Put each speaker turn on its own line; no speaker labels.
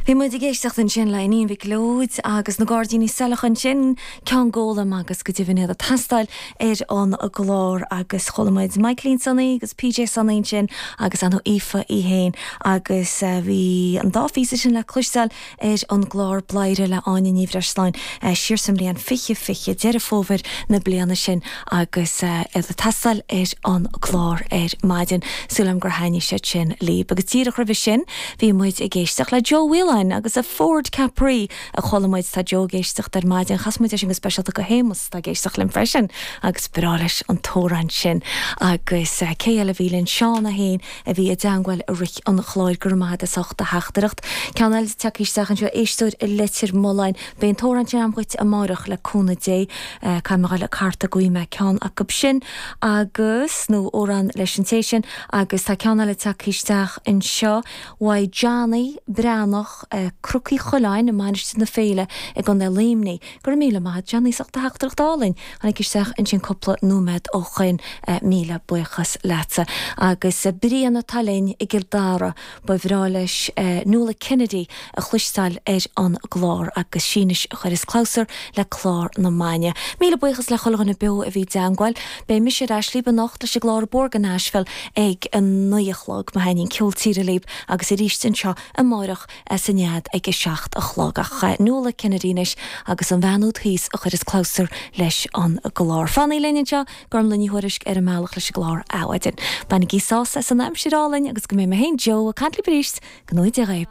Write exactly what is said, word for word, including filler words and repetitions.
Bhí muid ag éisteacht ansin le Iníon Mhic Leoid agus na Gairdíní Saileach ansin ceann Gólam agus go deimhin iad ag taisteal ar an gclár agus chuala muid Michaelín Sonaí agus PJ Sonaí sin agus an Aoife í héin agus uh, bhí an dá phíosa sin le cloisteáil ar an gclár Bladhaire le Áine Ní Bhreisleáin uh, siar sa mbliain fiche fiche Deireadh Fómhair na bliana sin agus uh, iad ag taisteal ar an gclár ar maidin súil agam gur thaitnigh sé sin libh agus díreach roimhe sin bhí muid ag éisteacht le Joe Whelan agus a Ford Capri a chuala muid tá Joe ag éisteacht ar maidin chas muid sin go speisialta go Shéamus tá ag éisteacht linn freisin agus breá leis an t-amhrán sin agus uh, cé eile bhí linn Seán a haon a bhí i dteagmháil i rith an chláir gur maith as ucht a theachtaireacht. Ceann eile tagtha isteach anseo éisteoir i Leitir Mealláin Beidh an t-amhrán sin agam dhuit amárach le cúnamh Dé uh, Caimeáil le carta go mé ceann acu sin agus nó amhrán leis an té sin agus tá ceann eile tagtha isteach anseo uaidh Johnny Breathnach uh, Cnoc Uí Choileáin i Mainistir na Féile i gContae Luimnigh, gur míle maith Johnny as ucht do theachtaireacht álainn tháinig isteach ansin cúpla nóiméad ó shin uh, míle buíochas leatsa. agus uh, Brian atá linn i gCill Dara ba bhreá leis uh, Nuala Kennedy a chloisteáil ar an gclár agus sínis a chuir is clausar le clár na maidine. Míle buíochas le chuile dhuine beo a bhí i dteagmháil, Beidh mise ar ais libh anocht leis an gclár Borgan Nashville ag an naoi a chlog má thaitníonn ceol tíre libh agus arís anseo amárach san nead ag a seacht a chlog ach Nuala Kennedy anois agus an bhean úd thíos a chuir is clausar leis an gclár. Fanaigí linn anseo Gormfhlaith Ní Thuairisg ar an mbealach leis an gclár Adhmhaidin. Bainigí sásamh as an aimsir álainn agus go mbeidh mé féin Joe ag caint libh arís go dtí.